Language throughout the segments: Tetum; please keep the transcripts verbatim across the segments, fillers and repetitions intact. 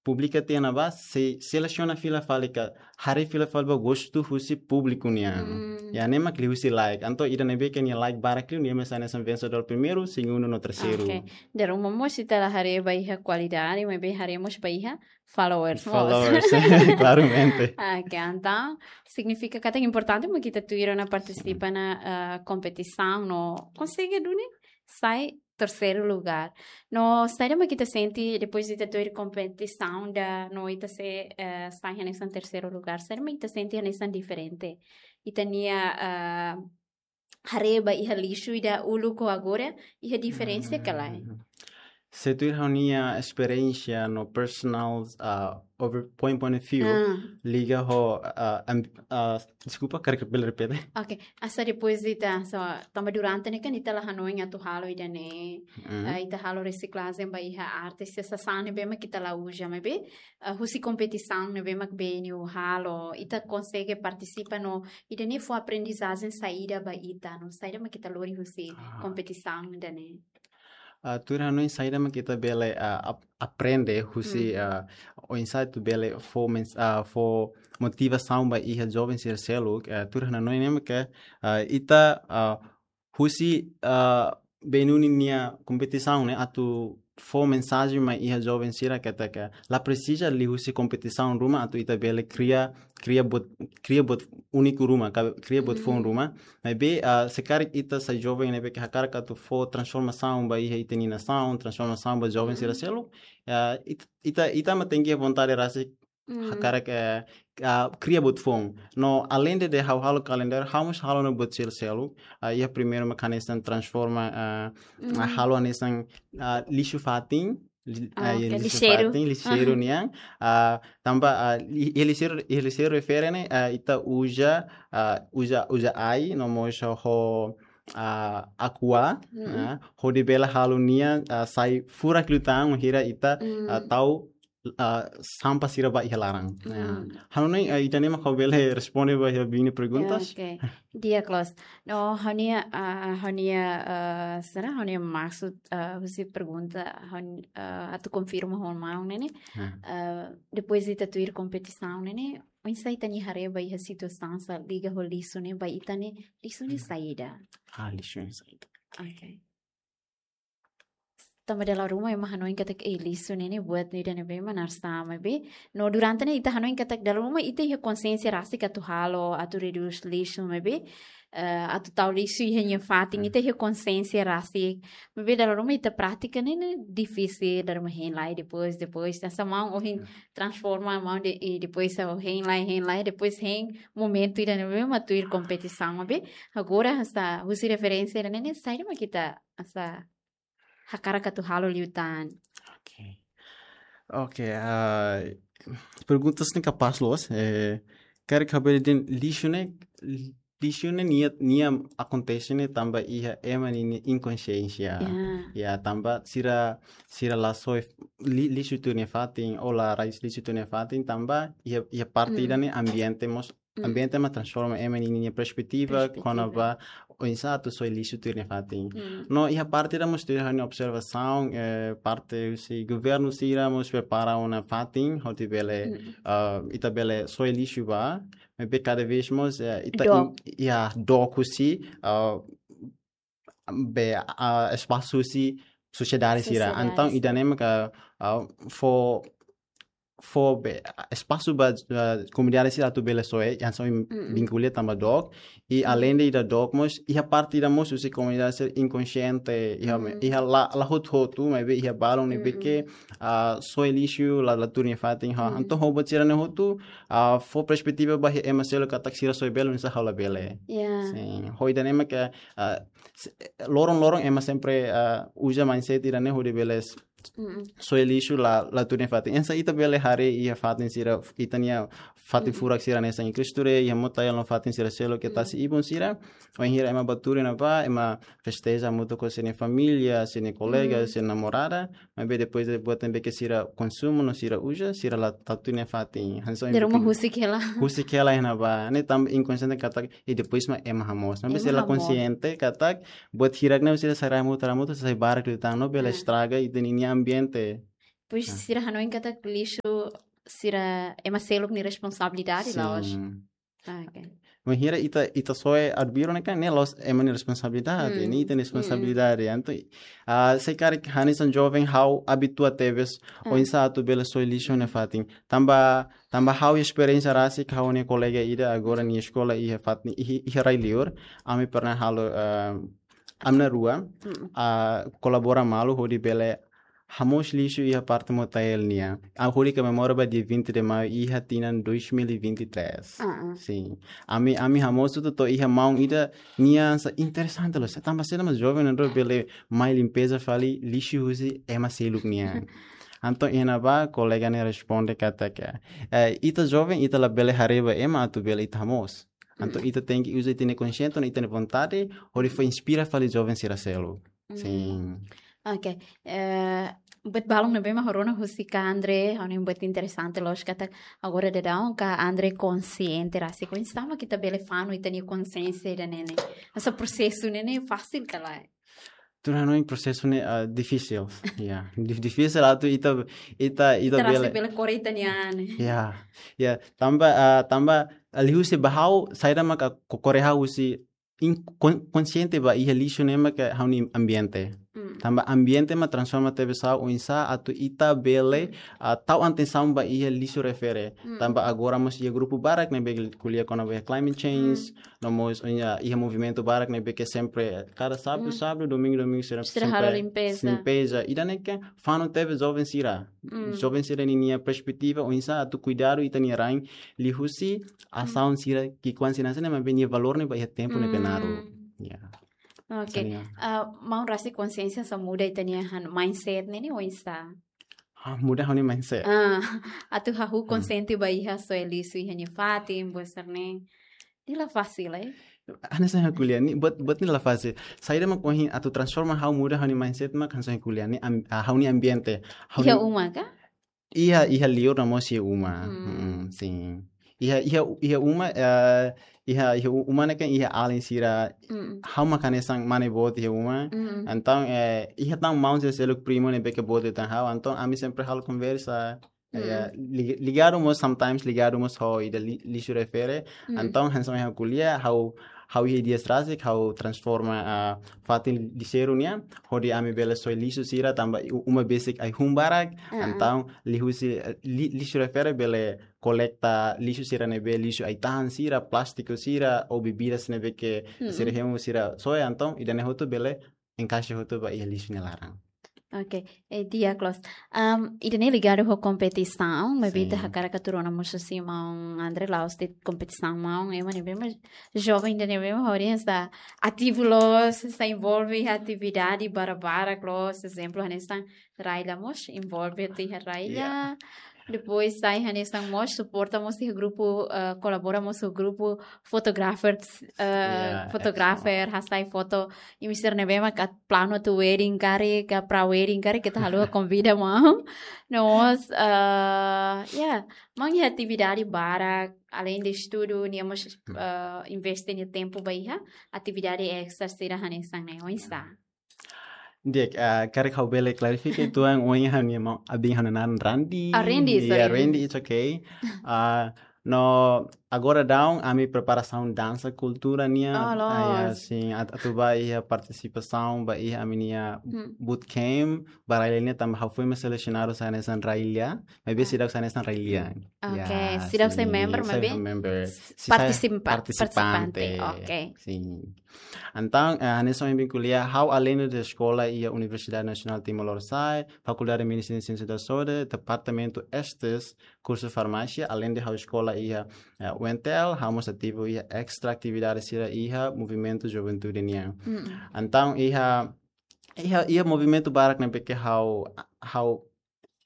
publika tiha ne'ebá, sei selesiona fila fali ka, haree fila fali ba gostu husi públiku nian. Iha ne'e mak liuhusi like. Entaun ida ne'ebé ke nia like barak liu, nia mak sai hanesan vensedór primeiru, segundu no terseiru. Ok. Dala ruma mós ita la haree ba iha kualidade, maibé haree mós ba iha followers mós. Followers, klaramente. Ok, entaun signifika katak importante mak ita tuir ona partisipa iha, ah, kompetisaun no konsege duni sai terseiru lugar. No saida mak ita sente depois de ita tuir kompetisaun ida no ita sei, eh, sai hanesan terseiru lugar? Saida mak ita sente hanesan diferente? Ita-nia, ah, haree ba iha lixu ida uluk ho agora, iha diferensa ka lae? Se tuir ha'u-nia esperiénsia no personal, ah, over point, point of view, liga ho, ah, amb-, ah, deskulpa, karik bele repete? Ok, hanesan depois de ita, so, tanba durante ne'e kan ita la hanoin atu halo ida-ne'e, ah, ita halo resiklajen ba iha arte, sasán ne'ebé mak ita la uza, maibé, ah, husi kompetisaun ne'ebé mak B N U halo, ita konsege partisipa no ida-ne'e fó aprendizajen saida ba ita, no saida mak ita lori husi kompetisaun ida-ne'e? Ah, tuir ha'u-nia hanoin, saida mak ita bele, ah, ap-, aprende husi, ah, oinsá atu bele fó mens-, ah, fó motivasaun ba iha joven sira seluk, ah, tuir ha'u-nia hanoin ne'e mak, ah, ita, ah, husi, ah, B N U ninia kompetisaun ne'e atu fó mensajen mai iha joven sira katak la presiza liuhusi kompetisaun ruma atu ita bele kria, kria buat, kria buat úniku ruma, ka kria buat foun ruma. Maibé, ah, se karik ita sai joven ne'ebé ke hakarak atu fó transformasaun ba iha ita-nia nasaun, transformasaun ba joven sira seluk, ah, it-, ita, ita mak tenke vontade rasik hakarak, eh, ah, kria buat foun. No alende de ha'u halo kalendáriu, ha'u mós halo ona buat sira seluk. Ah, iha primeiru mak hanesan transforma, ah, ah, halo hanesan, ah, lixu fatin, li-, ah, iha lixu fatin, lixeiru nian. Ah, tanba, ah, li-, iha lixeiru, iha lixeiru refere ne'e, ah, ita uza, ah, uza, uza ai, no mós ho, ah, aqua, ah, hodi bele halo nia, ah, sai furak liután, bainhira ita, ah, tau, ah, sampah sira ba iha laran. Ah, ha'u hanoin, ah, ida-ne'e mak ha'u bele responde ba iha biin nia perguntas. Ya, ok. Di'ak loos. No, ha'u-nia, ah, ha'u-nia, ah, será ha'u-nia maksud, ah, husi pergunta, ha'u, ah, atu konfirma ho maun ne'e ne'e. Ah, depois de ita tuir kompetisaun ne'e ne'e, oinsá ita-nia haree ba iha situasaun sá liga ho lixu ne'e, ba ita ne'e, lixu ne'e saida? Ah, lixu ne'e saida? Ok. Tanba dala ruma ema hanoin katak, eh, lixu ne'e ne'e buat ida ne'ebé mak narsá, maibé. No durante ne'e ita hanoin katak dala ruma ita iha konsiénsia rasik atu halo, atu redús lixu, maibé, eh, atu tau lixu iha nia fatin, ita iha konsiénsia rasik. Maibé dala ruma ita pratika ne'e, ne'e difisil, dala ruma hein lai, depois, depois, hanesan maun ohin transforma maun de, i depois hein lai, hein lai, depois hein momentu ida ne'ebé mak tuir kompetisaun, maibé. Agora, hanesan, husi referénsia ida-ne'e ne'e, saida mak ita, hanesan, hakarak atu halo liután? Ok. Ok, ah, perguntas ne'e kapás loos, eh, karik ha'u bele dehan lixu ne'e, lixu ne'e nia, nia akontese ne'e tanba iha ema nia inkonsiénsia. Ya. Ya, tanba sira, sira la soe li-, lixu tuir nia fatin, ou la rai lixu tuir nia fatin, tanba iha, iha parte ida-ne'e ambiente mós ambiente mak transforma ema ninia perspetiva, perspetiva, kona-ba oinsá atu soe lixu tuir nia fatin. No iha parte ida mós tuir ha'u-nia observasaun, eh, parte husi governu sira mós prepara ona fatin, hodi bele, ah, ita bele soe lixu ba, maibé kada vez mós, eh, ita dook. In-, ya, dook husi, ah, be, ah, espasu husi sosiedade sira. Sosiedade. Entaun, ida-ne'e maka, ah, fó, fó be, espasu ba, ah, komunidade sira atu bele soe, hanesan ohin vinkula tanba dook. I alende ida dook mós, iha parte ida mós husi komunidade sira inkonsiente, iha, iha la, la hotu-hotu, maibé iha balun ne'ebé ke, ah, soe lixu la, la tuir nia fatin, ha. Entaun, ho buat sira-ne'e hotu, ah, fó perspetiva ba iha ema seluk katak sira soe bele, oinsá ha'u la bele. Ya. Sin, ho ida-ne'e maka, ah, se-, loron-loron ema sempre, ah, uza mindset ida-ne'e hodi bele s-, soe lixu la, la tuir nia fatin. Oinsá ita bele haree iha fatin sira, ita-nia fatin furak sira hanesan iha Cristo Rei, iha Mota Yalo no fatin sira seluk ke tasi ibun sira. Bainhira ema bá tuur iha ne'ebá, ema festeja hamutuk ho sira-nia família, sira-nia kolega, sira-nia namorada. Maibé depois de buat ne'ebé ke sira konsumu no sira uza, sira la tau tuir nia fatin. Hanesan dala ruma husik hela. Husik hela iha ne'ebá. Ne'e tanba inkonsiente katak, i depois mak ema hamoos. Maibé sira la konsiente katak, buat hirak ne'e sira sai hamutuk, hamutuk, sai barak liután, no bele estraga ita-nia ambiente. Pois Ah. sira hanoin katak lixu sira ema seluk nia responsabilidade, la'ós? Sin. Ah, ok. Bainhira ita, ita soe arbiru ne'e kan, ne'e la'ós ema nia responsabilidade, Mm, ne'e ita-nia mm. responsabilidade. Entaun, ah, se karik hanesan joven ha'u abitua tebes, Ah. oinsá atu bele soe lixu ne'e fatin. Tanba, tanba ha'u esperiénsia rasik, ha'u-nia kolega ida agora nia eskola iha fatin, iha, iha rai-li'ur, ami pernah halo, ah, ami na'in-rua, Mm. ah, kolabora malu hodi bele hamoos lixu iha parte Motael nian. Ah, hodi komemora ba dia vinte de maio iha tinan dois mil e vinte e três. Ah, ah. Sin. Ami, ami hamoos hotu to'o iha maun ida nian sa interesante loos. Tanba saida mak joven ne'e bele mai limpeza fali lixu husi ema seluk nian. Entaun iha ne'ebá kolega ne'e responde katak, eh, ita joven, ita labele haree ba ema atu bele ita hamoos. Entaun Mm. ita tenke uza ita-nia konxiente, ita-nia vontade, hodi fó inspira fali joven sira seluk. Mm. Sin. Ok. Eh, buat balun ne'ebé mak rona husi Kak André, ha'u hanoin buat interesante loos katak agora daudaun Kak André konxiente rasik. Oinsá mak ita bele fanu ita-nia konxiénsia ida-ne'e ne'e? Hanesan prosesu ne'e ne'e fasil ka lae? Tuir ha'u-nia prosesu ne'e, ah, difisil. Ya, dif-, difisil atu ita, ita, ita Ita bele. rasik bele kore ita-nia an. Ya, ya, tanba, ah, tanba, ah, liuhusi ba ha'u, saida maka ko-, kore ha'u husi in-, kon-, konxiente ba iha lixu ne'e maka ha'u-nia ambiente. Mm. Tanba ambiente mak transforma tebes ha'u oinsá atu ita bele, ah, tau atensaun ba iha lixu refere. Mm. Tanba agora mós iha grupu barak ne'ebé ko'alia kona-ba climate change, no mós iha, iha movimentu barak ne'ebé ke sempre, kada sábadu, Mm. sábadu, domingu, domingu, sira Sira halo sempre limpeza. limpeza. Ida-ne'e ke fanu tebes joven sira. Mm. Joven sira ninia perspetiva, oinsá atu kuidadu ita-nia rain, liuhusi asaun sira, ki'ikoan sira hanesan ne'e, maibé nia valór ne'e ba iha tempu ne'ebé naruk. Mm. Ya. Ok. Sania. Ah, maun rasik konxiénsia hanesan muda ita-nia han-, mindset ne'e ne'e oinsá? Ah, muda ha'u-nia mindset. Ah, atu hahú Hmm. konxiente ba iha soe lixu iha nia fatin, buat sira-ne'e. Ne'e la fasil, eh? Hanesan ha'u ko'alia, ne'e buat, buat ne'e la fasil. Saida mak ohin atu transforma ha'u muda ha'u-nia mindset mak hanesan ha'u ko'alia, ne'e am-, ah, ha'u-nia ambiente. Ha'u-nia Iha uma ka? Iha, iha li'ur no mós iha uma. Hmm. Hmm, sin. Iha, iha, iha uma, eh, iha, iha u-, uma ne'e kan iha alin sira. Mm. Ha'u mak hanesan mane boot iha uma. Mm. Entaun, eh, iha tan maun sira seluk, primu ne'ebé ke boot liután ha'u. Entaun ami sempre halo konversa. Mm. Eh, li-, ligadu mós, sometimes ligadu mós ho ida li-, lixu refere. Mm. Entaun hanesan ha'u ko'alia, ha'u, ha'u iha ideia rasik, ha'u transforma, ah, fatin lixeiru nian, hodi ami bele soe lixu sira, tanba u-, uma besik ai-hun barak. Ah, ah. Entaun liuhusi, eh, li-, lixu refere bele kolekta lixu sira ne'ebé, lixu ai-tahan sira, plástiku sira, ou bebidas ne'ebé ke Mm. sira hemu sira soe, entaun ida-ne'e hotu bele enkaixa hotu ba iha lixu nia laran. Ok, eh, di'ak loos. Am, ida-ne'e ligadu ho kompetisaun, maibé ita Sin. hakarak atu rona mós husi maun André, la'ós de'it kompetisaun, maun ema ne'ebé mak joven ida ne'ebé mak ha'u dehan sa ativu loos, sa envolve iha atividade barak-barak loos, ezemplu hanesan Raila mós envolve tiha Raila. Ya. Depois sai hanesan mós suporta mós iha grupu, eh, kolabora mós ho grupu fotografer, eh, Ya, fotografer, hasai foto, imi sira ne'ebé mak atu planu atu wedding karik, ka pra wedding karik, ita haluha konvida maun. No mós, eh, ya, maun iha atividade barak, além de estudu, nia mós, Hmm. eh, investe nia tempu ba iha atividade extra sira hanesan ne'e, oinsá? Di'ak, ah, karik ha'u bele klarifika uitoan, ohin ha'u-nia maun, abin ha'u-nia naran Randy. Ah, Randy, Ya, sorry. Randy, it's okay. Ah, no, agora daudaun, ami preparasaun dansa kultura nian. Oh, Ah, ya, loos. sin, at-, atu ba iha partisipasaun, ba iha ami-nia Hmm. bootcamp, ba Raila nian tanba ha'u foin mak selesionadu sai hanesan Raila, maibé Ah. seidauk sai hanesan Raila. Ok, Ya, seidauk sai sin, member, sai maibé member. s-, Sai partisipa-, partisipante. partisipante, ok. Sin. Entaun, eh, hanesan ohin ko'alia, ha'u além de eskola iha Universidade Nasionál Timor Lorosa'e, Fakuldade Medisina Siénsia da Saúde, Departamentu Estes, kursu farmásia, além de ha'u eskola iha, eh, U N T L, ha'u mós ativu iha extra atividade sira iha movimentu juventude nian. Mm. Entaun, iha, iha, iha movimentu barak ne'ebé ke ha'u, ha'u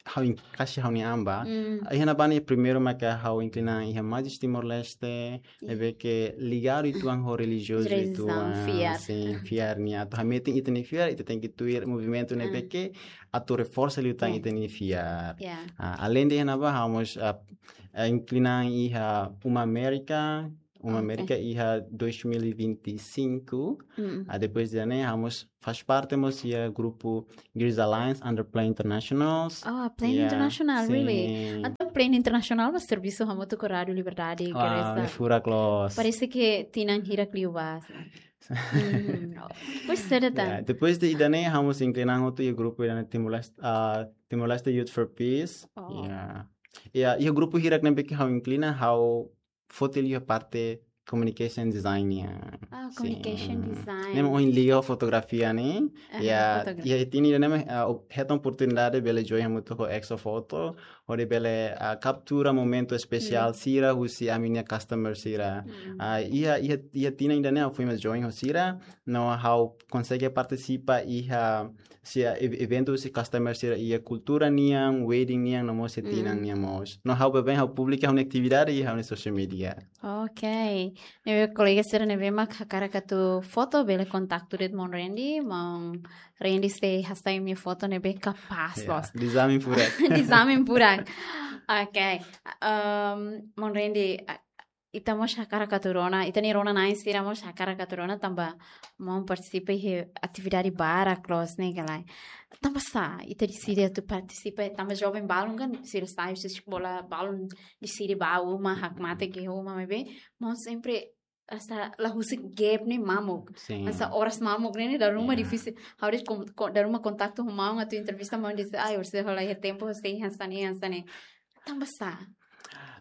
ha'u in-, kasi ha'u-nia an ba. Mm. Iha ne'ebá ne'e primeiru maka ha'u inklina iha Majlis Timor-Leste, Ih. ne'ebé ke ligadu uitoan ho relijiozu Relijiaun, uitoan, fiar. Sin, fiar nian. Atu hametin ita-nia fiar, ita tenke tuir movimentu ne'ebé Ah. ke atu reforsa liután Ya. ita-nia fiar. Ya. Ah, além de iha ne'ebá, ha'u mós, ah, ah, inklina iha Uma América, Uma Ok. Amérika iha dois mil e vinte e cinco. Mm. Ah, depois de ne'e, ha'u mós faz parte mós iha grupu Girls Alliance under Play Internationals. Oh, Play Ya, International, really? sin. Entaun Play International mak servisu hamutuk ho Rádiu Liberdade, Wah, Gresa. ne'e furak loos. Parese ke tinan hirak liubá. Mm. Pois será tan. Ya, depois de ida-ne'e, ha'u mós inklina ha'u hotu iha grupu ida-ne'e Timor-Leste, ah, Timor-Leste Youth for Peace. Oh. Ya. Ya, iha grupu hirak ne'ebé ke ha'u inklina, ha'u foti liu parte communication design nian. Ah, Sin. communication design. Ne'e mak ohin liga ho fotografia ne'e. Ah, Ya, fotografia. ya, iha tinan ida-ne'e mak, ah, hetan oportunidade bele join hamutuk ho Exo Foto, hodi bele, ah, kaptura momentu espesiál Mm. sira husi ami-nia customer sira. Mm. Ah, iha, iha, iha tinan ida-ne'e ha'u foin mak join ho sira, no ha'u konsege partisipa iha, iha ev-, eventu husi customer sira iha kultura nian, wedding nian, no mós iha tinan Mm. nian mós. No ha'u baibain ha'u publika ha'u-nia atividade iha ha'u-nia social media. Ok. Ne'ebé kolega sira ne'ebé mak hakarak atu foto bele kontaktu de'it maun Randy, maun Randy sei hasai imi foto ne'ebé kapás Ya, loos. dizamin furak. Dizamin furak. Ok. Um, maun Randy, a-, ita mós hakarak atu rona, ita-nia rona-na'in sira mós hakarak atu rona tanba maun partisipa iha atividade barak loos ne'e ka lae. Tanba sá ita deside atu partisipa, tanba joven balun kan sira sai husi eskola balun deside bá uma, hakmatek iha uma, maibé maun sempre hanesan la husik gap ne'e mamuk. Sin. Hanesan oras mamuk ne'e, ne'e dala ruma Ya. difisil. Ha'u dehan kon-, kon-, dala ruma kontaktu ho maun atu entrevista maun dehan, ai, orsida ha'u la iha tempu, sei hanesan ne'e, hanesan ne'e. Tanba sá?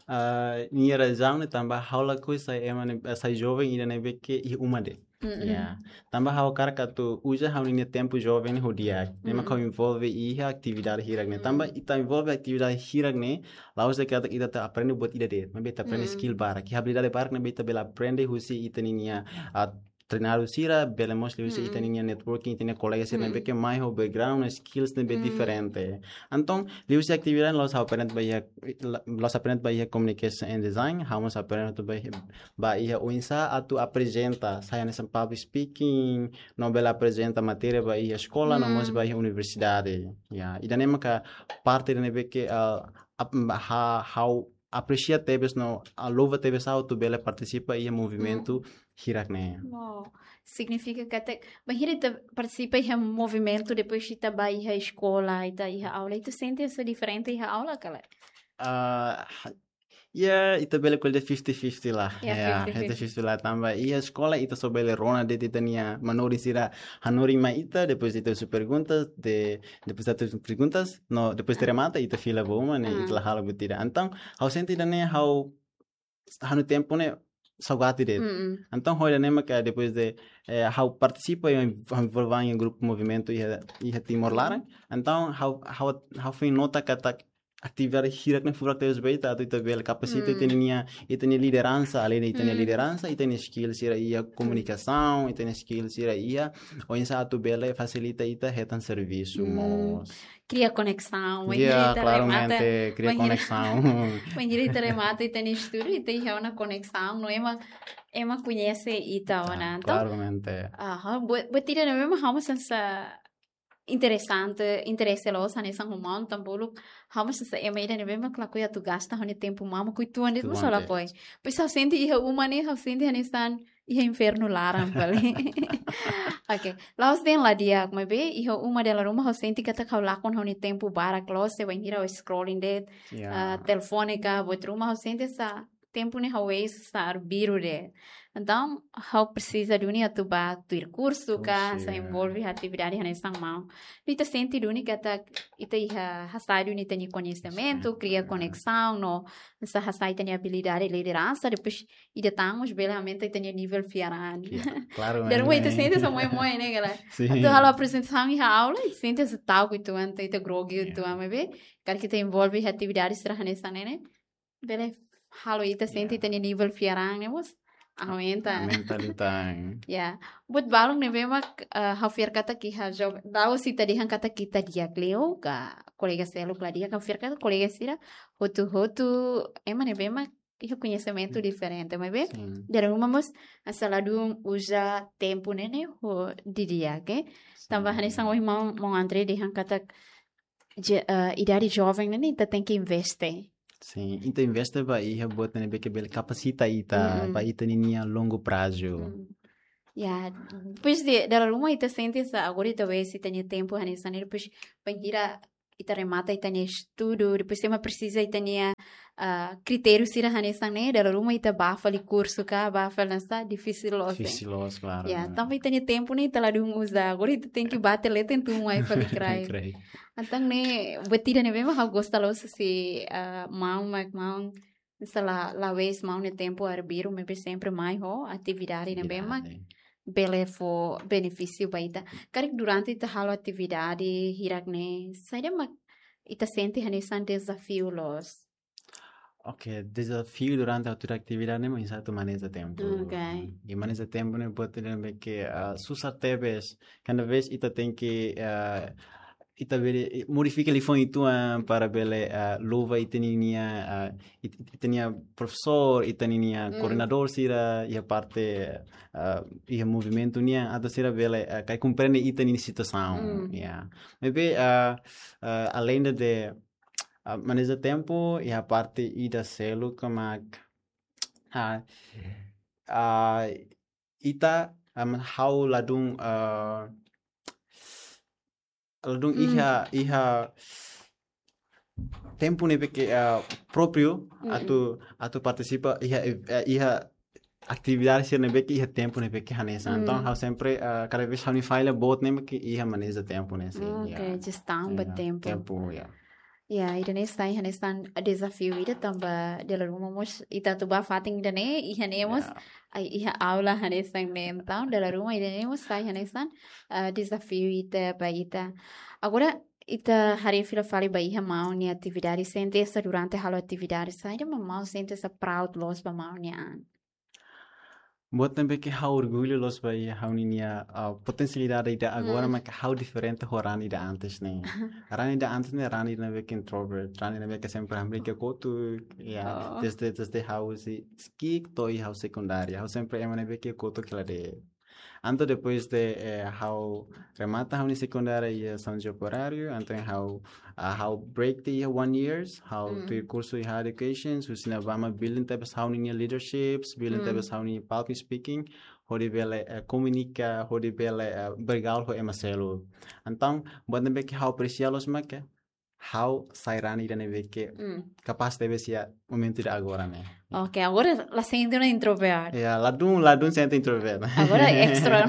Ah, nia razaun ne'e tanba ha'u lakohi sai ema ne'e, sai joven ida ne'ebé ke iha uma de'it. Mm-mm. Ya. Tanba ha'u hakarak atu uza ha'u-nia tempu joven ne'e ho di'ak. Ne'e mak Mm-mm. ha'u envolve iha atividade hirak ne'e. Tanba Mm. ita envolve atividade hirak ne'e, la'ós de'it katak ita atu aprende buat ida de'it, maibé ita aprende Mm. skill barak. Iha abilidade barak ne'ebé ita bele aprende husi ita-nia, ah, treinadór sira, bele mós liuhusi Mm. ita-nia networking, ita-nia kolega sira Mm. ne'ebé ke mai ho background, skills ne'ebé Mm. diferente. Entaun, liuhusi atividade ne'e la'ós aprende ba iha, la'ós aprende ba iha communication and design, ha'u mós aprende atu ba iha, ba iha oinsá atu aprezenta, sai hanesan public speaking, no bele aprezenta matéria ba iha eskola, no mós Mm. ba iha universidade. Ya, ida-ne'e maka parte ida ne'ebé ke, ah, ap-, ha, ha'u apresia tebes no, ah, louva tebes ha'u atu bele partisipa iha movimentu hirak ne'e. Wow. Signifika katak, bainhira ita partisipa iha movimentu, depois ita bá iha eskola, ita iha aula, ita sente hanesan diferente iha aula ka lae? Ah, ha-, ya, ita bele ko'alia fifty fifty lah. Ya, Ya, fifty fifty. Fifty fifty lah tanba iha eskola ita só bele rona de'it ita-nia manorin sira hanorin mai ita, depois ita husu perguntas, de, depois ita husu perguntas, no, depois de remata ita fila ba uma ne'e, Ah. ita la halo buat ida. Entaun, ha'u sente ida-ne'e ha'u, ha'u-nia tempu ne'e saugati de'it. Mm-mm. Entaun, ho ida-ne'e maka depois de, eh, ha'u partisipa iha, ha'u envolve iha grupu movimentu iha, iha Timor Mm. laran. Entaun, ha'u, ha'u, ha'u foin nota katak atividade hirak ne'e furak tebes ba ita, atu ita bele kapasita Mm. ita-nia, ita-nia lideransa, além de ita-nia Mm. lideransa, ita-nia skill sira iha komunikasaun, ita-nia skill sira iha oinsá atu bele fasilita ita hetan servisu Mm. mós. Kria koneksaun, Ya, bainhira ita remata, klaramente, kria bainhira, koneksaun. bainhira ita remata ita-nia estudu, ita iha ona koneksaun, no ema, ema koñese ita ona. Ah, Entaun, klaramente. ah, buat, buat ida ne'ebé mak ha'u mós sente interesante, interese loos hanesan ho maun, tanba uluk ha'u mós sente ema ida ne'ebé mak lakohi atu gasta ha'u-nia tempu mamuk uitoan de'it, mós Uitoan de'it. lakohi. Pois ha'u sente iha uma ne'e, ha'u sente hanesan iha infernu laran fali. Ok. La'ós dehan la di'ak, maibé iha uma dala ruma ha'u sente katak ha'u lakon ha'u-nia tempu barak loos, se bainhira ha'u scrolling de'it, Ya. ah, telefone ka, buat ruma ha'u sente hanesan tempu ne'e ha'u waste hanesan arbiru de'it. Entaun, ha'u presiza duni atu bá tuir kursu ka, Kursu, sa ya. envolve atividade hanesan maun. Ita sente duni katak ita iha hasai duni ita-nia koñesimentu, Koñesimentu, kria ya. koneksaun, no hanesan hasai ita-nia abilidade lideransa, depois ida tan mós bele aumenta ita-nia nivel fiar an. Ya, klaramente. Dala ruma ita sente hanesan moe-moe ne'e ka lae. Sin. Atu halo aprezentasaun iha aula, ita sente hanesan ta'uk uitoan, ita grogi Ya. uitoan, maibé karik ita envolve iha atividade sira hanesan ne'e ne'e, bele halo ita sente Ya. ita-nia nivel fiar an ne'e mós aumenta. Aumenta liután. Ya. Buat balun ne'ebé mak, eh, ha'u fiar katak iha joven, la'ós ita dehan katak ita di'ak liu ka kolega seluk la di'ak, ha'u fiar katak kolega sira hotu-hotu ema ne'ebé mak iha koñesimentu diferente, maibé Sin. dala ruma mós hanesan ladún uza tempu ne'e ne'e ho didi'ak, eh. Tanba Sin. hanesan ohin maun, maun André dehan katak je-, eh, idade joven ne'e ne'e ita tenke investe. Sin, ita investe ba iha buat ne'ebé ke bele kapasita ita, Mm-mm. ba ita ninia longu prazu. Mm. Ya, depois de, dala ruma ita sente sa, agora ita vê se tenke tempu hanesan ne'e, depois bainhira ita remata ita-nia estudu, depois ema presiza ita-nia, ah, kritériu sira hanesan ne'e, dala ruma ita bá fali kursu ka, bá fali nasa, difisil loos, eh. Difisil loos, klaru, Ya, klaru. Tanba ita-nia tempu ne'e ita ladún uza, agora ita tenke bá tele tentu mai fali kraik. Kraik. Entaun ne'e, buat ida ne'ebé mak ha'u gosta loos se, ah, maun, mak maun, se la, la'ós maun nia tempu arbiru, maibé sempre mai ho atividade ne'ebé mak Atividade. bele fó benefísiu ba ita. Karik durante ita halo atividade hirak ne'e, saida mak ita sente hanesan dezafiu loos? Ok, dezafiu durante atu atividade ne'e mak oinsá atu maneja tempu. Ok. I maneja tempu ne'e buat ne'ebé ke, ah, susar tebes. Kada vez ita tenke, ah, ita bele, eh, modifika liafuan uitoan para bele, ah, louva ita-nia, ah, it-, it-, ita-nia profesór, ita-nia Mm. koordenadór sira, iha parte, ah, iha movimentu nian, atu sira bele, ah, kaer komprende ita-nia situasaun. Mm. Ya. Maibé, ah, ah, além de, de, ah, maneja tempu, iha parte ida seluk mak, ah, ah, ita, ah, ha'u ladún, ah, ladún Mm. iha, iha tempu ne'ebé ke, ah, própriu Mm. atu, atu partisipa iha, eh, iha atividade sira ne'ebé ke iha tempu ne'ebé ke hanesan. Entaun, Mm. ha'u sempre, ah, kada vez ha'u-nia falla boot ne'e mak iha maneja tempu ne'e sin, Ok, ya. Jestaun ba Ya, tempu. tempu, ya. Ya, ida-ne'e sai hanesan dezafiu ida tanba dala ruma mós ita atu bá fatin ida-ne'e, iha ne'e mós, Ya. ai, iha aula hanesan ne'e. Entaun, dala ruma ida-ne'e mós sai hanesan, ah, dezafiu ida ba ita. Agora, ita haree fila fali ba iha maun nia atividade, sente sa durante halo atividade, saida mak maun sente sa proud loos ba maun nia an? Buat ne'ebé ke ha'u orgullu loos ba iha ha'u-nia, ah, potensialidade ida agora Mm. mak ha'u diferente ho Rani ida antes ne'e. Rani ida antes ne'e, Rani ne'ebé ke introvert, Rani ne'ebé ke sempre hamriik iha kotuk, ya, Oh. desde, desde ha'u husi ki'ik to'o ha'u sekundária. Ha'u sempre ema ne'ebé ke kotuk hela de'it. Entaun depois de, eh, ha'u remata ha'u-nia sekundária iha São João Operário, entaun ha'u, ah, ha'u break tiha iha one years, ha'u Mm. tuir kursu iha education, husi ne'ebá mak building tebes ha'u-nia leaderships, building Mm. tebes ha'u-nia public speaking, hodi bele, eh, komunika, hodi bele, eh, bergaul ho ema seluk. Entaun, buat ne'ebé ke ha'u apresia loos mak ha'u sai Rani ida ne'ebé ke Mm. kapás tebes iha momentu ida agora ne'e. Ok, agora la sente ona introvert. Ya, ladún, ladún sente introvert. Agora extra.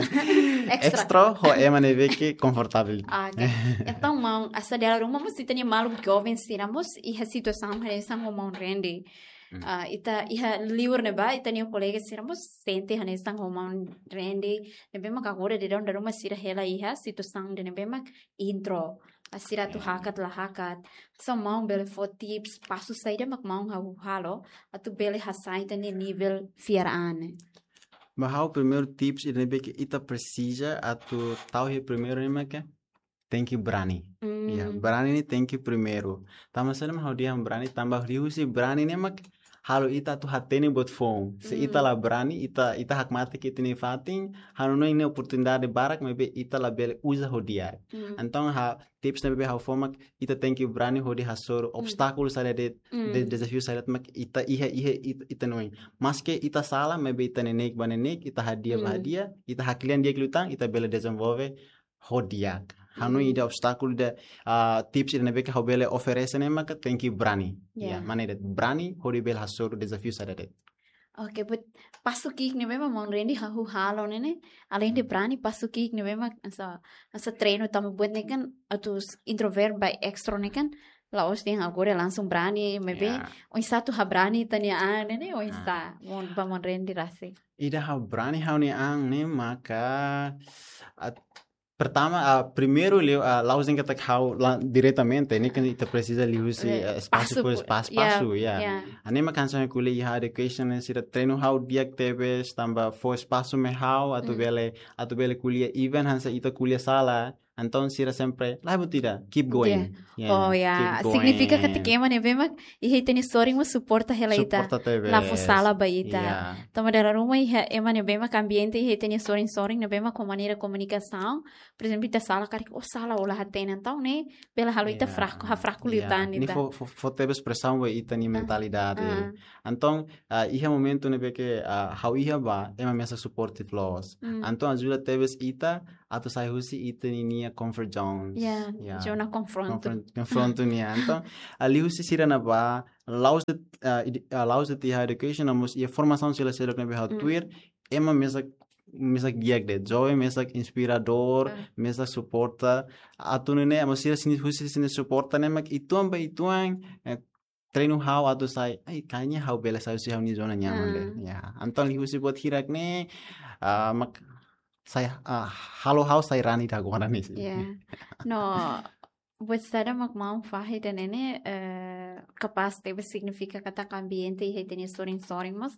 Extra. Extra ho ema ne'ebé ke konfortavel. Ah, ok. Entaun, maun, hanesan dala ruma mós ita-nia maluk joven sira mós iha situasaun hanesan ho maun Randy. Mm. Ah, ita iha liur ne'ebá, ita-nia kolega sira mós sente hanesan ho maun Randy. Ne'ebé mak agora daudaun dala ruma sira hela iha situasaun ida ne'ebé mak intro. Ah, sira atu Ya. hakat la hakat. Só maun bele fó tips, pasu saida mak maun hahú halo, atu bele hasai ita-nia nivel fiar an ne'e. Ba ha'u primeiru tips ida ne'ebé ke ita presiza atu tau iha primeiru ne'e mak tenke brani. Mm. Ya, brani ne'e tenke primeiru. Tanba saida mak ha'u dehan brani, tanba liuhusi brani ne'e mak halo ita atu hatene buat foun. Se ita Mm. la brani, ita, ita hakmatek ita-nia fatin, ha'u hanoin ne'e oportunidade barak, maibé ita labele uza ho di'ak. Mm. Entaun, ha'u, tips ne'ebé ha'u fó mak, ita tenke brani hodi hasoru Mm. obstákulu saida de'it, Mm. de-, dezafiu saida de'it mak ita iha, iha, ita, ita hanoin. Maske ita sala, maibé ita neineik ba neineik, ita hadi'a ba Mm. hadi'a, ita haklean di'ak liután, ita bele dezenvolve ho di'ak. Ha'u hanoin Mm. ida obstákulu ida, ah, tips ida ne'ebé ke ha'u bele oferese ne'e maka tenke brani. Ya. Ya, mak ne'e de'it, brani hodi bele hasoru dezafiu saida de'it. Ok, but pasu ki'ik ne'ebé mak maun Randy hahú halo ne'e ne'e, além de Hmm. brani, pasu ki'ik ne'ebé mak hanesan, hanesan treinu tanba buat ne'e kan atu s-, introvert ba extro ne'e kan, la'ós dehan agora langsung brani, maibé Ya. oinsá atu habrani ita-nia an ne'e ne'e, oinsá, Ah. maun, ba maun Randy rasik. Ida habrani ha'u-nia an ne'e maka, ah, pertama, ah, primeiru liu, ah, la'ós dehan katak ha'u la diretamente, ne'e kan ita presiza liuhusi, Eh, ah, espasu pasu por pu-, espasu, ya, pasu, ya. Ya. Hanesan mak hanesan ko'alia iha education ne'e sira treinu ha'u di'ak tebes, tanba fó espasu mai ha'u, atu Mm. bele, atu bele ko'alia even hanesan ita ko'alia sala, Entaun sira sempre, la buat ida, keep going. Oh ya, signifika katak ema ne'ebé mak iha ita-nia sorin mós suporta hela ita. Suporta tebes. La fó sala ba ita. Tanba dala ruma iha ema ne'ebé mak ambiente iha ita-nia sorin-sorin ne'ebé mak ho maneira komunikasaun. Por ezemplu, ita sala karik, oh sala, ó la hatene, entaun ne'e bele halo ita fraku, ha fraku liután ita. Ne'e fó, fó, fó tebes presaun ba ita-nia mentalidade. Entaun, ah, iha momentu ne'ebé ke, ah, ha'u iha ba, ema mesak supportive loos. Entaun ajuda tebes ita atu sai husi ita-nia comfort zones. Ya, zona konfrontu. Konfrontu nian. Entaun, ah, liuhusi sira-ne'ebá, la'ós de'it, ah, ide-, ah, la'ós de'it iha education, no mós iha formasaun sira seluk ne'ebé ha'u tuir, ema mesak, mesak di'ak de'it, joven mesak inspiradór, mesak suporta. Atu nune'e, ema sira sini husi sini suporta ne'e mak uitoan ba uitoan, eh, treinu ha'u atu sai, ai, kayaknya ha'u bele sai husi ha'u-nia zona nyaman de'it. Ya, entaun liuhusi buat hirak ne'e, ah, mak sai, ah, halo ha'u sai rani ida agora ne'e. Ya. No, buat saida mak maun fahe ida-ne'e ne'e, eh, kapás tebes signifika katak ambiente iha ita-nia sorin-sorin mós,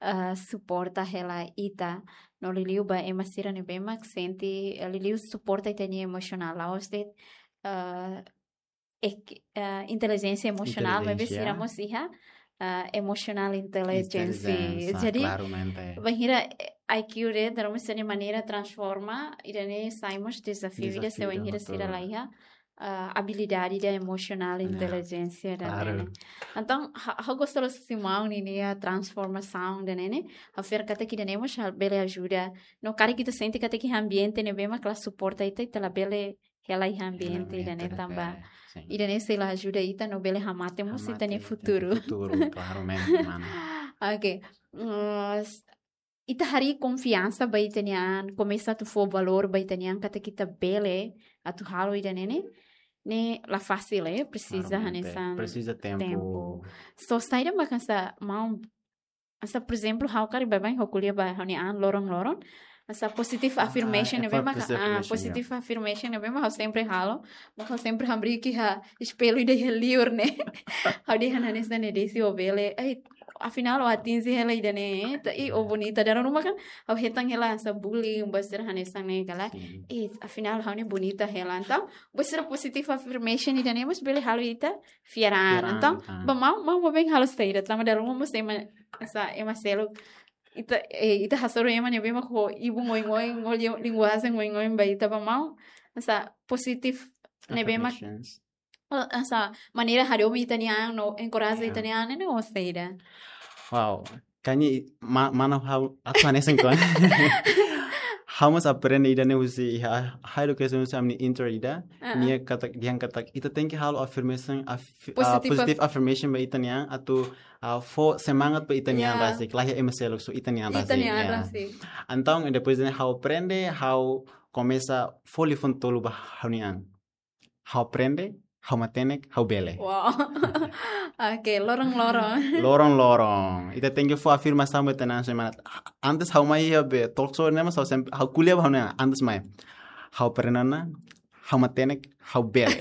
eh, suporta hela ita. No liuliu ba ema sira ne'ebé mak sente, eh, liuliu suporta ita-nia emosionál. La'ós de'it, eh, ek-, eh, intelijénsia emosionál, maibé sira mós iha, eh, emotional intelligence. Jadi, bainhira, eh, I Q de'it, terus sira-nia maneira transforma, ida-ne'e sai mós dezafiu ida se bainhira sira la iha, eh, abilidade ida emosionál, intelijénsia ida-ne'e. Entaun, ha-, ha'u gosta loos husi maun ninia transformasaun ida-ne'e ne'e, ha'u fiar katak ida-ne'e mós bele ajuda. No karik ita sente katak iha ambiente ne'ebé mak la suporta ita, ita labele hela iha ambiente ida-ne'e tanba ida-ne'e sei la ajuda ita no bele hamate mós ita-nia futuru. Futuru, klaramente, mana. Oke. Mm, s-, ita harii konfiansa ba ita-nia an, komesa atu fó valór ba ita-nia an katak ita bele atu halo ida-ne'e ne'e, ne'e la fasil, eh, presiza hanesan tempu. Presiza tempu. So, saida mak hanesan maun, hanesan, por ezemplu, ha'u karik baibain ha'u ko'alia ba ha'u-nia an loron-loron. Hanesan positive affirmation ne'ebé mak, positive affirmation ne'ebé mak ha'u sempre halo. Mak ha'u sempre hamriik iha espellu ida iha liur ne'e. Ha'u dehan hanesan ne'e, Desi, ó bele. Ai, afinál ó atinje hela ida-ne'e. Ita, i ó bonita. Dala ruma kan ha'u hetan hela hanesan bullying, buat sira hanesan ne'e ka lae. Eh, afinál ha'u ne'e bonita hela. Entaun, buat sira positive affirmation ida-ne'e mós bele halo ita fiar an. Entaun, ba maun, maun baibain halo saida, tanba dala ruma mós ema, hanesan ema seluk. Ita, eh, ita hasoru ema ne'ebé mak ho ibun oin-oin, ho li-, linguajen oin-oin ba ita, ba maun, hanesan positive ne'ebé mak, hanesan maneira hadomi ita-nia an no encourage ita-nia an ne'e ó saida. Wow. Kayaknya i-, ma-, mana ha'u, atu hanesan ko. Ha'u mós aprende ida-ne'e husi iha, ha'u education husi ami-nia intro ida. Nia katak, dehan katak, ita tenke halo affirmation, aff-, ah, positive affirmation ba ita-nia an, atu, ah, fó semangat ba ita-nia an rasik, la iha ema seluk, só ita-nia an rasik. Ita-nia an rasik. Entaun, depois de ha'u aprende, ha'u komesa fó liafuan tolu ba ha'u-nia an. Ha'u aprende, ha'u matenek, ha'u bele. Wow. Oke, loron-loron. Loron-loron. Ita tenke fó afirmasaun ba ita-nia an semana. Antes ha'u mai iha be talk show ne'e mós ha'u sem-, ha'u ko'alia ba ha'u-nia an, antes mai. Ha'u aprende ona, ha'u matenek, ha'u bele.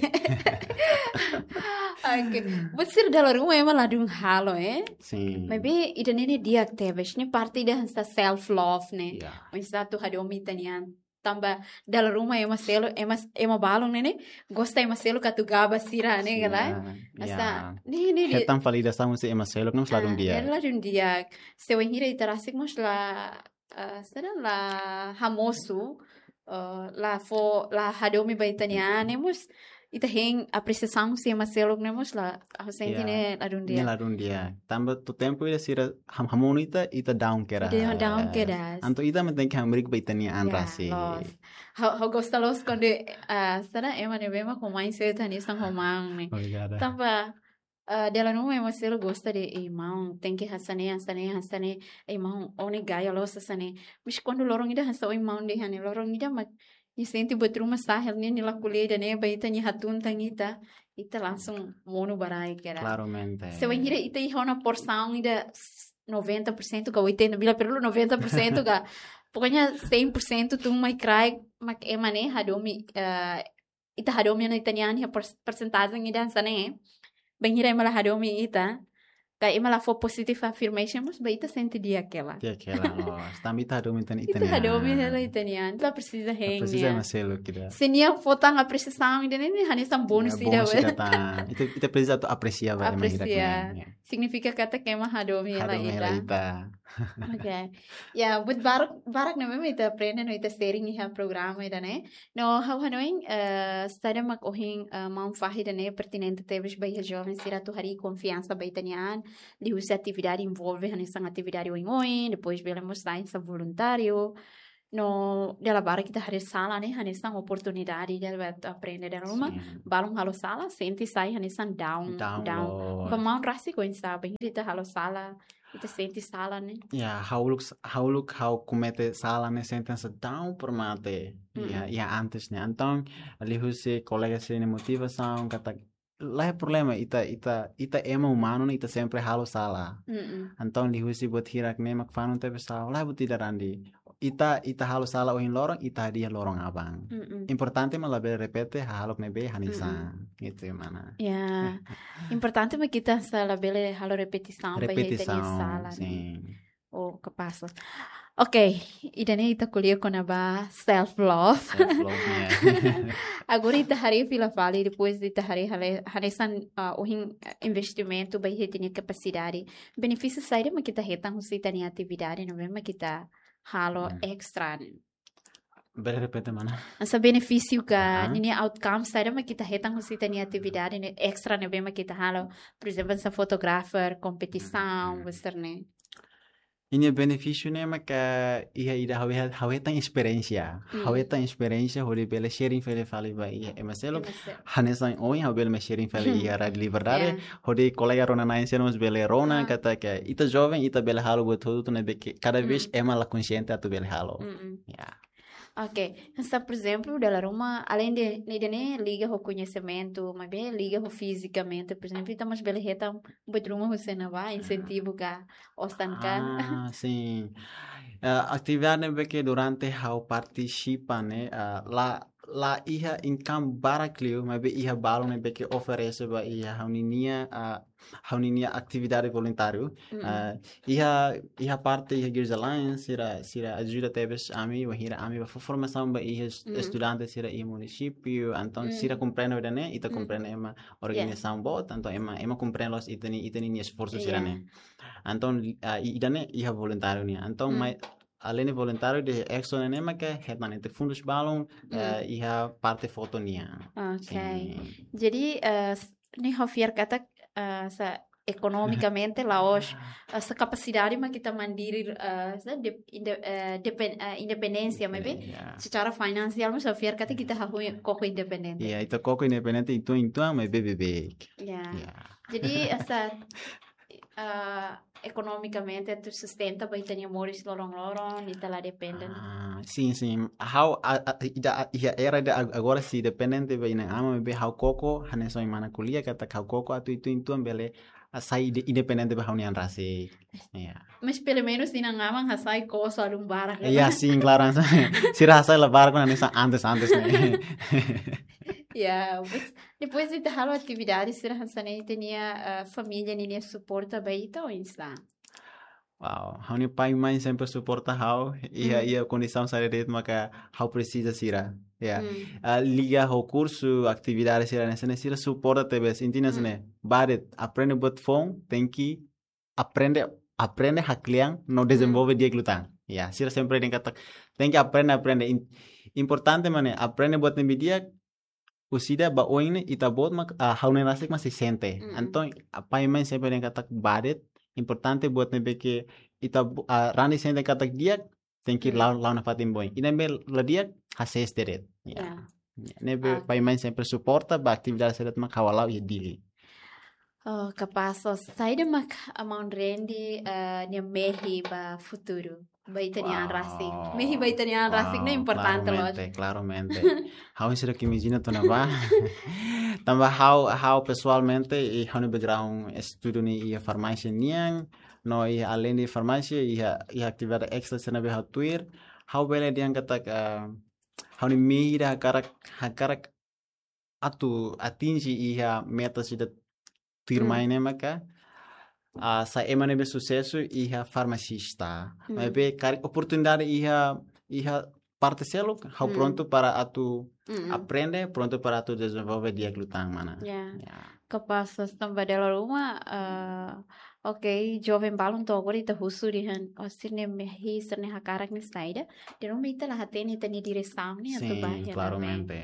Oke. Buat sira dala ruma ema ladún halo, eh? Sin. Maibé ida-ne'e ne'e di'ak tebes, ne'e parte ida hanesan self love ne'e. Ya. Hanesan atu hadomi ita-nia an. Tanba dala ruma ema seluk, ema, ema balun ne'e ne'e gosta ema seluk atu gaba sira ne'e ka lae. Hanesan, ne'e, ne'e, ne'e. Hetan fali ida samu se ema seluk ne'e mós ladún di'ak. Ne'e ladún di'ak. Se wainhira ita rasik mós la, ah, sira la hamosu, ah, la fó, la hadomi ba ita-nia an ne'e mós, ita hein apresiasaun husi ema seluk ne'e mós la, ha'u sente ne'e ladún di'ak. Ne'e ladún di'ak. Tanba to'o tempu ida sira ham-, hamonu ita, ita down kedas. Ita down kedas. Entaun ita mak tenke hamriik ba ita-nia an rasik. Loos. Ha'u, ha'u gosta loos kuandu, ah, sira ema ne'ebé mak ho mindset hanesan ho maun ne'e. Obrigada. Tanba, ah, dala ruma ema seluk gosta dehan, ei maun, tenke hanesan ne'e, hanesan ne'e, hanesan ne'e. Ei maun, ó ne'e gaya loos hanesan ne'e. Mas kuandu loron ida hanesan ohin maun dehan ne'e, loron ida mak nia sente buat ruma sa'e hela, nia, nia la ko'alia ida-ne'e ba ita, nia hatún tan ita, ita langsung monu ba rai kedas. Klaramente. Se wainhira ita iha ona porsaun ida s-, noventa por cento ka oitenta, bila perlu noventa por cento ka, pokoknya cem por cento tun mai kraik, mak ema ne'e hadomi, eh, ita hadomi ona ita-nia an iha pers-, persentajen ida hanesan ne'e. Bainhira ema la hadomi ita, Ka ema la fó positive affirmation, mas ba ita sente di'ak hela. Di'ak hela, loos. Tanba ita hadomi ita-nia, ita-nia. Ita hadomi hela ita-nia an. La presiza hein. La presiza ema seluk ida. Se nia fó tan apresiasaun ida-ne'e, hanesan bónus ida. Bónus ida tan. Ita, ita presiza atu apresia ba ema ida. Apresia. Signifika katak ema hadomi hela ita. Hadomi hela ita. Oke. Ya, buat barak, barak ne'ebé mak ita aprende no ita sharing iha programa ida-ne'e. No ha'u hanoin, eh, saida mak ohin, eh, maun fahe ida-ne'e pertinente tebes ba iha joven sira atu harii konfiansa ba ita-nia an, liuhusi atividade envolve hanesan atividade oioin, depois bele mós sai hanesan voluntáriu. No dala barak ita haree sala ne'e hanesan oportunidade ida ba atu aprende dala ruma. Sin. Balun halo sala, sente sai hanesan down, down, down. Loos. Ba maun rasik oinsá, bainhira ita halo sala, ita sente sala ne'e. Ya, ha'u uluk, ha'u uluk ha'u komete sala ne'e sente hanesan down por mate. Ya, ya antes ne'e. Entaun, liuhusi kolega sira-nia motivasaun, katak, la iha problema, ita, ita, ita ema umanu ne'e, ita sempre halo sala. Mm-mm. Entaun, liuhusi buat hirak ne'e mak fanun tebes sala, la buat ida randi. Ita, ita halo sala ohin loron, ita hadi'a loron aban. Mm-mm. Importante mak labele repete hahalok ne'ebé hanesan. Mm-mm. Itu yang mana. Ya. Importante mak ita hanesan labele halo repetisaun ba ita-nia sala ne'e. Repetisaun, sin. Oh, kapás. Oke, ida-ne'e ita ko'alia kona-ba self love. Self love, ya. Agora ita haree fila fali, depois ita haree hale-, hanesan, ah, ohin, eh, investimentu ba iha ita-nia kapasidade. Benefísiu saida mak ita hetan husi ita-nia atividade, no mezmu mak ita halo extra. Bele repete mana? Hanesan benefísiu ka, ninia outcome saida mak ita hetan husi ita-nia atividade ne'e extra ne'ebé mak ita halo. Por ezemplu, hanesan fotografer, kompetisaun, buat sira-ne'e. Ninia benefísiu ne'e mak iha ida ha'u iha, ha'u hetan esperiénsia. Ha'u hetan esperiénsia hodi bele sharing fali fali ba iha ema seluk. Ema seluk. Hanesan ohin ha'u bele mai sharing fali iha Rádiu Liberdade. Ya. Hodi kolega rona-na'in sira mós bele rona katak ita joven, ita bele halo buat hotu ne'ebé ke kada vez ema la konxiente atu bele halo. Mm-mm. Ya. Oke, hanesan por ezemplu, dala ruma, além de, ida-ne'e liga ho koñesimentu, maibé liga ho fizikamente, por ezemplu, ita mós bele hetan buat ruma husi ne'ebá, insentivu ka, osan ka. Ah, sin. Eh, atividade ne'ebé ke durante ha'u partisipa ne'e, eh, la, la iha income barak liu, maibé iha balun ne'ebé ke oferese ba iha ha'u-ninia, eh, ha'u-ninia atividade voluntáriu. Mm-mm. Ah, iha, iha parte iha Girls Alliance, sira, sira ajuda tebes ami, wainhira ami bá fó formasaun ba iha es-, estudante sira iha munisípiu, entaun sira komprende ida-ne'e, ita komprende ema organizasaun boot, entaun ema, ema komprende loos ita-nia, ita-nia esforsu sira-ne'e. Entaun, ah, i-, ida-ne'e iha voluntáriu nian. Entaun, mai, além de voluntáriu, de extra ne'e mak hetan ita fundus balun, eh, iha parte foto nian. Oke. Sin. Jadi, eh, s-, ne'e ha'u fiar katak, eh, hanesan ekonomikamente la'ós, eh, hanesan kapasidade mak ita mandiri, eh, hanesan de-, inde-, eh, depen-, eh, independénsia, maibé secara finansiál mós ha'u fiar katak ita hahú koko independente. Ya, ita koko independente, entaun, entaun, maibé beibeik. Ya. Ya. Jadi, hanesan, eh, ekonomikamente atu sustenta ba ita-nia moris loron-loron, ita la depende. Ah, sin, sin. Ha'u, a, a, ida, a, iha era ida ag-, agora sei dependente ba inan-aman, maibé ha'u koko, hanesan ohin mana ko'alia katak ha'u koko atu entaun, entaun bele, ah, sai de-, independente ba ha'u-nia an rasik. Ya. Mas pelumenus inan-aman hasai koko só alun barak. Ya, sin, klaru. Sira hasai la barak, hanesan antes, antes ne'e. Ya, mas depois ita halo atividade sira hanesan ne'e, ita-nia, eh, família ninia suporta ba ita oinsá? Wow, ha'u-nia pai-mãe sempre suporta ha'u, iha, iha kondisaun saida de'it maka ha'u presiza sira. Ya. Ah, liga ho kursu, atividade sira-ne'e, sira suporta tebes, inti ne'e, bá de'it, aprende buat foun, tenke aprende, aprende haklean no dezenvolve di'ak liután. Ya, sira sempre dehan katak, tenke aprende, aprende. In-, importante mak ne'e, aprende buat ne'ebé di'ak, husi ida ba oin ne'e ita-boot mak, ah, ha'u-nia an rasik mak sei sente. Mm-mm. Entaun, ah, pai-mãe sempre dehan katak bá de'it, importante buat ne'ebé ke ita bo-, ah, randi sente katak di'ak, tenke la'o, la'o nafatin ba oin. Ida ne'ebé la di'ak, hasees de'it. Ya. Ya. Ya, ne'ebé pai-mãe sempre suporta ba atividade sira mak ha'u hala'o iha Dili. Oh, kapás, oh, saida mak maun Randy, eh, nia mehi ba futuru, ba ita-nia an rasik. Wow. Mehi ba ita-nia an rasik ne'e importante loos. Wow, klaramente, klaramente. Ha'u seidauk imajina tiha ona bá. Tanba ha'u, ha'u pesoalmente, i ha'u-nia background estudu ne'e iha farmásia nian, no iha além de farmásia, iha, iha atividade extra sira ne'ebé ha'u tuir, ha'u bele dehan katak, eh, ha'u-nia mehi ida hakarak, hakarak atu atinje iha metas ida tuirmai ne'e maka, ah, sai ema ne'ebé susesu iha farmasista. Hmm. Maibé karik oportunidade iha, iha parte seluk, ha'u Hmm. prontu para atu Hmm. aprende, prontu para atu dezenvolve di'ak liután, mana. Ya. Ya. Kapás, tanba dala ruma, eh, oke, joven balun to'o agora ita husu dehan, oh, sira-nia mehi, sira-nia hakarak ne'e saida. Dala ruma ita la hatene ita-nia diresaun ne'e atu Sin, ba iha ne'ebé. Klaramente.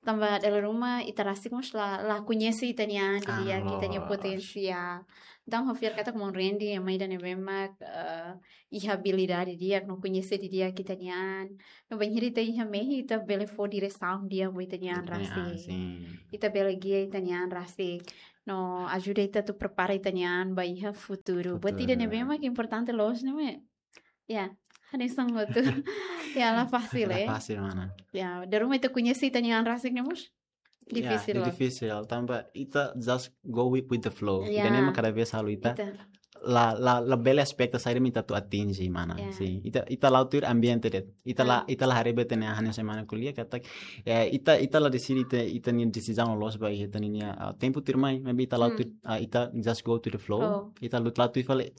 Tanba dala ruma ita rasik mós la, la koñese ita-nia an Ah, didi'ak, ita-nia loos. potensiál. Entaun, ha'u fiar katak maun Randy ema ida ne'ebé mak, eh, iha abilidade di'ak, no koñese didi'ak ita-nia an. No bainhira ita iha mehi, ita bele fó diresaun di'ak ba ita-nia an Ita-nia an, rasik. sin. Ita bele gia ita-nia an rasik. No ajuda ita atu prepara ita-nia an ba iha futuru. Buat ida Futuru. ne'ebé mak importante loos ne'e, ya, hanesan hotu. Ya, la fasil, La eh. fasil, mana. Ya, dala ruma ita koñese ita-nia an rasik ne'e mós Ya, difisil, la. difisil. Tanba ita just go with, with the flow. Ya. Ida-ne'e mak kada vez halo ita Ita. la, la, la bele espeta saida mak ita atu atinje, mana. Ya. Sin. Ita, ita la'o tuir ambiente de'it. Ita la, Ah. ita la haree ba ita-nia an hanesan ema ko'alia katak, eh, ita, ita la deside ita, ita-nia desizaun loloos ba ita-nia, ah, tempu tuirmai, maibé ita la'o Hmm. tuir, ah, ita just go to the flow. Flow. Ita la'o, la'o tuir fali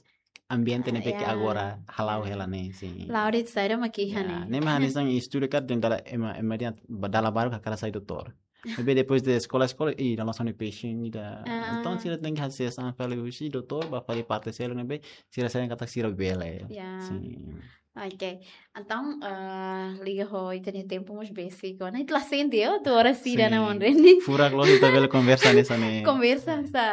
ambiente ne'ebé ke Ya. agora hala'o hela ne'e, sin. La'o de'it saida mak iha Ya, ne'e. ne'e mak hanesan estuda karik dehan dala ema, ema dehan ba dala barak hakarak sai doutór. Maibé depois de eskola, eskola, ih, dala hanesan ne'e passion ida. Ah. Entaun, sira tenke hasees an fali husi doutór, ba fali parte seluk ne'ebé, sira sente katak sira bele. Ya. Sin. Oke. Entaun, eh, liga ho ita-nia tempu mós besik ona. Ita la sente, oh, atu oras ida ona, Sin. maun Randy. Furak loos ita bele konversa hanesan ne'e. Konversa sa,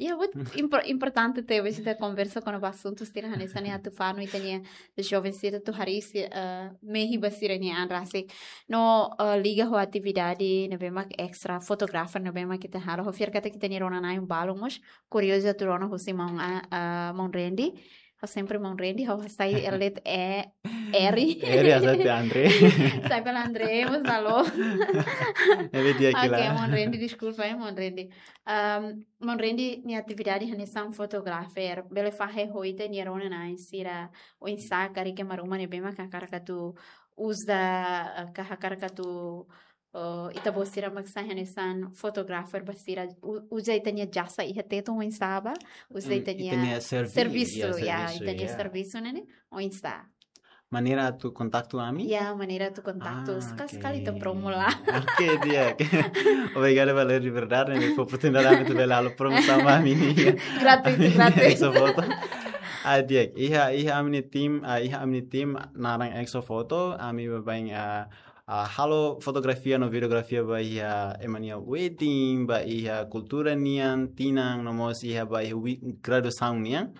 ya, buat impor-, importante tebes ita konversa kona-ba asuntu sira hanesan ne'e atu fanu ita-nia joven sira atu harii si-, eh, mehi ba sira-nia an rasik. No, eh, liga ho atividade ne'ebé mak extra, fotografer ne'ebé mak ita halo. Ha'u fiar katak ita-nia rona-na'in balun mós kuriozu atu rona husi maun a-, eh, maun Randy. Ha'u sempre maun Randy, ha'u hasai letra E, R. R, hasai tiha André. Sai pela André, mas alô. Ele dia Oke, kila. Maun Randy, deskulpa, eh, maun Randy. Ahm, maun Randy nia atividade hanesan fotografer, bele fahe ho ita-nia rona-na'in sira oinsá karik ema ruma ne'ebé mak hakarak atu uza, eh, ka hakarak atu, eh, ita-boot sira mak sai hanesan fotografer ba sira u-, uza ita-nia jasa iha Tetun oinsá ba, uza Hmm, ita-nia ita-nia servi-, servisu, ya, ya, servisu, ita-nia ya. servisu ne'e, ne'e, oinsá. Maneira atu kontaktu ami? Ya, maneira atu kontaktu. Ah, Sekali-sekali oke. ita promo la. Oke, di'ak. Obrigadu ba Ler Liberdade, ne'e fó oportunidade ami atu bele halo promosaun ba ami-nia Gratuitu, gratuitu. Exo Foto. Ah, di'ak. Iha, iha ami-nia tim, ah, iha ami-nia tim naran Exo Foto, ami baibain, ah, ah, halo fotografia no videografia ba iha ema nia wedding, ba iha kultura nian, tinan, no mós iha ba iha wi-, graduasaun nian.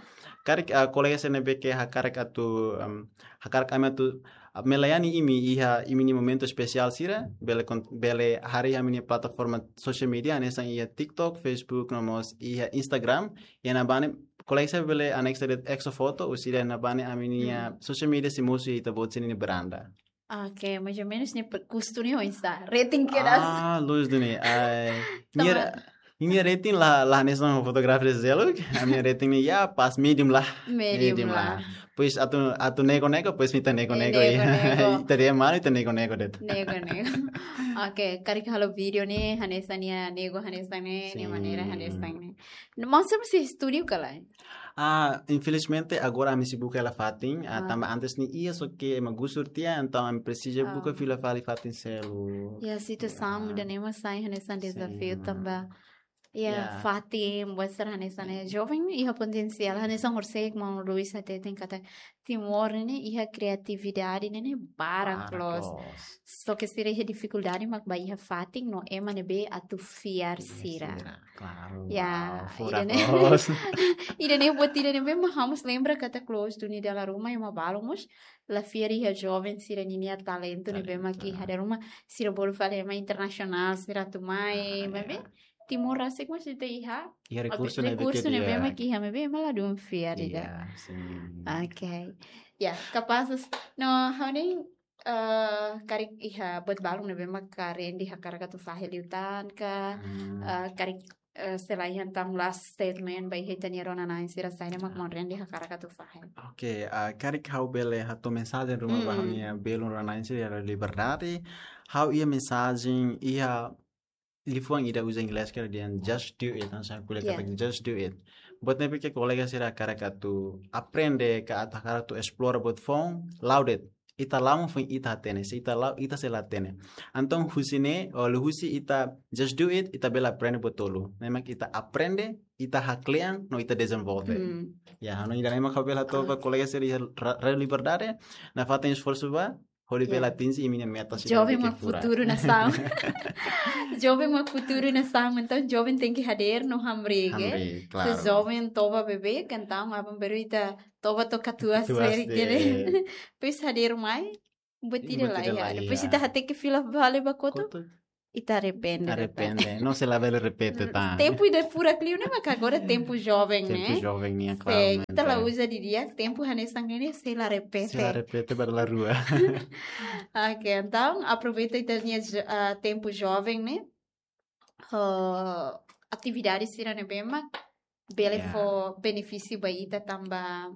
Karik, ah, kolega sira ne'ebé ke hakarak atu, em, hakarak ami atu, ah, melayani imi iha imi-nia momentu espesiál sira, bele kon-, bele harii ami-nia plataforma social media, hanesan iha TikTok, Facebook, no mós iha Instagram. Iha ne'ebá ne'e, kolega sira bele anexa de'it Exo Foto, husi ida ne'ebá ne'e ami-nia Hmm. social media sei mosu iha ita-boot sira-nia beranda. Oke, mais ou menos ne'e pe-, kustu ne'e oinsá? Rating kedas? Ah, loos duni. Ai, Tama- nia, nia rating la, la hanesan fotografer seluk. Ami-nia rating ne'e ya pas medium lah. Medium Medium lah. lah. Pois atu, atu nego-nego, pois ita nego-nego, Ita ya. nego-nego. Ita dehan malu, ita nego-nego de'it. Nego-nego. Oke, karik halo vídeo ne'e, hanesan nia nego hanesan ne'e, nia Sin. maneira hanesan ne'e. Maun sempre iha estúdiu ka lae? Ah, infelizmente, agora ami sei buka hela fatin, ah, Ah. tanba antes ne'e iha, só ke ema gusur tiha, entaun ami presiza Ah. buka fila fali fatin seluk. Ya, situasaun Ya. muda ne'e mak sai hanesan Sin. dezafiu tanba. Ya, Ya. fatin, buat sira hanesan ne'e. Joven iha potensiál, hanesan horisehik maun Luis hateten katak Timor ne'e iha kreatividade ne'e barak Barak loos. loos. Só ke sira iha difikuldade mak ba iha fatin no ema ne'ebé atu fiar Fiar sira. sira, klaru. Ya, Wow, furak ida-ne'e, loos. ida-ne'e buat ida ne'ebé mak ha'u mós lembra katak loos duni dala ruma ema balun mós la fiar iha joven sira ninia talentu ne'ebé Talentu. mak iha, dala ruma sira bolu fali ema internasionál sira atu mai, Ah, maibé ya. Timor rasik mós ita iha Iha rekursu ne'ebé rekursu ke ne'ebé dia. mak iha, maibé ema ladún fiar ida. Iya, sin. Oke. Ya, kapás, no, ha'u hanoin, eh, karik iha buat balun ne'ebé mak Randy hakarak atu fahe liután ka, Hmm. eh, karik, eh, selae entaun last statement ba iha ita-nia rona-na'in sira saida mak Ah. maun Randy hakarak atu fahe. Oke, ah, karik ha'u bele hato'o mensajen ruma ba Mm-mm. ha'u-nia belun rona-na'in sira iha Liberdade. Ha'u iha mensajen, iha liafuan ida uza inglés karik dehan just do it, hanesan ko'alia Yeah. katak just do it. Buat ne'ebé ke kolega sira hakarak atu aprende ka atu hakarak atu esplora buat foun, la'o de'it. Ita la'o mak foin ita hatene, se ita la'o, ita sei la hatene. Entaun husi ne'e, liuhusi ita just do it, ita bele aprende buat tolu. Ne'e mak ita aprende, ita haklean, no ita dezenvolve. Hmm. Ya, ha'u hanoin ida-ne'e mak ha'u bele hato'o ba kolega sira iha Ra-, Rádiu Liberdade, nafatin esforsu ba hodi bele Ya. atinje imi-nia meta sira Joven ne'ebé mak ke furak. futuru nasaun. Joven mak futuru nasaun. Entaun joven tenke hadeer no hamriik, eh? Hamriik, Se klaru. joven toba beibeik, entaun aban-bainrua ita toba to'o katuas, Katuas seri de- kene. Depois hadeer mai, buat ida Buat la ida iha. la iha. Depois ita hateke fila fali ba kotuk, Kotuk. ita arrepende. Arrepende. No sei la bele repete tan. Tempu ida furak liu ne'e, mak agora tempu joven, Tempu ne'e? joven nian, Se klaramente. ita la uza di'ak, tempu hanesan ne'e sei la repete. Sei la repete ba dala rua. Ok, entaun aproveita ita-nia jo-, ah, tempu joven, ne'e? Ah, atividade sira ne'ebé mak bele Ya. fó benefísiu ba ita tanba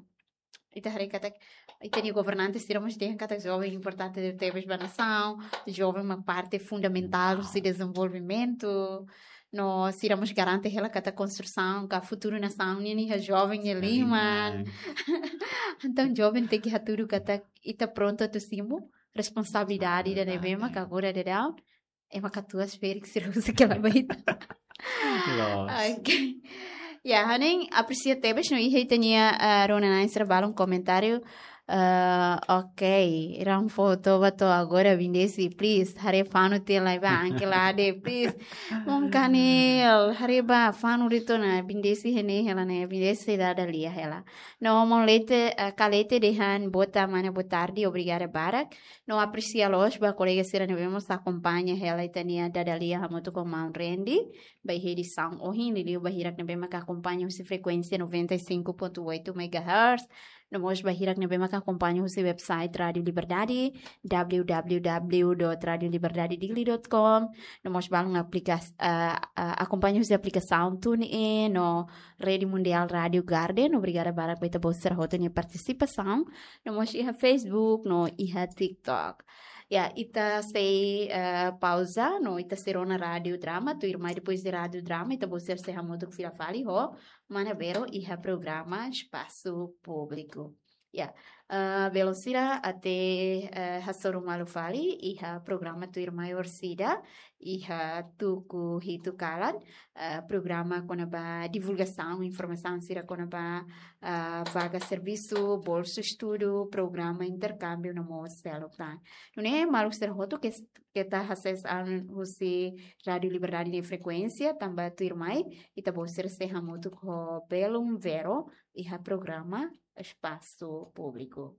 ita haree katak ita-nia governante sira mós dehan katak joven importante tebes ba nasaun, joven mak parte fundamentál husi dezenvolvimentu, no sira mós garante hela katak konstrusaun ka futuru nasaun nian iha joven nia liman. Entaun joven tenke hatudu katak ita prontu atu simu responsabilidade ida ne'ebé mak agora daudaun ema katuas ferik sira husi kela ba ita. Loos. Ok. Ya, ha'u-nia apresia tebes no iha ita-nia, ah, rona-na'in sira balun komentáriu. Ah, ok. Ran foto ba to'o agora BNDES, please. Haree fanu tiha lai ba anke lade, please. Maun Kanil, haree ba fanu de'it ona BNDES iha ne'e hela ne'e, BNDES sei dada lia hela. No maun Lete, ah, Kalete dehan boa ta-, mana, boa tarde, obrigada barak. No apresia loos ba kolega sira ne'ebé mós akompaña hela ita-nia dada lia hamutuk ho maun Randy ba iha edisaun ohin, liuliu ba hirak ne'ebé maka akompaña husi frekuénsia noventa e cinco ponto oito megahertz. No mós ba hirak ne'ebé maka akompaña husi website Rádiu Liberdade, w w w dot radio liberdade dili dot com. No mós balun aplikas-, ah, ah, akompaña husi aplikasaun TuneIn, no Rede Mundial Rádiu Garden. Obrigada barak ba ita-boot sira hotu nia partisipasaun. No mós iha Facebook, no iha TikTok. Ya, ita sei, eh, pauza, no ita sei rona Rádiu Drama, tuirmai depois de Rádiu Drama, ita-boot sira sei hamutuk fila fali ho mana Bero iha programa Espasu Públiku. Ya, eh, belun sira, até, eh, hasoru malu fali iha programa tuirmai orsida, iha tuku hitu kalan, eh, programa kona-ba divulgasaun informasaun sira kona-ba, ah, vaga servisu, bolsu estudu, programa interkámbiu no mós seluk tan. Nune'e maluk sira hotu ke, keta hasees an husi Rádiu Liberdade nia frekuénsia, tanba tuirmai ita-boot sira sei hamutuk ho belun Vero iha programa Espasu Públiku.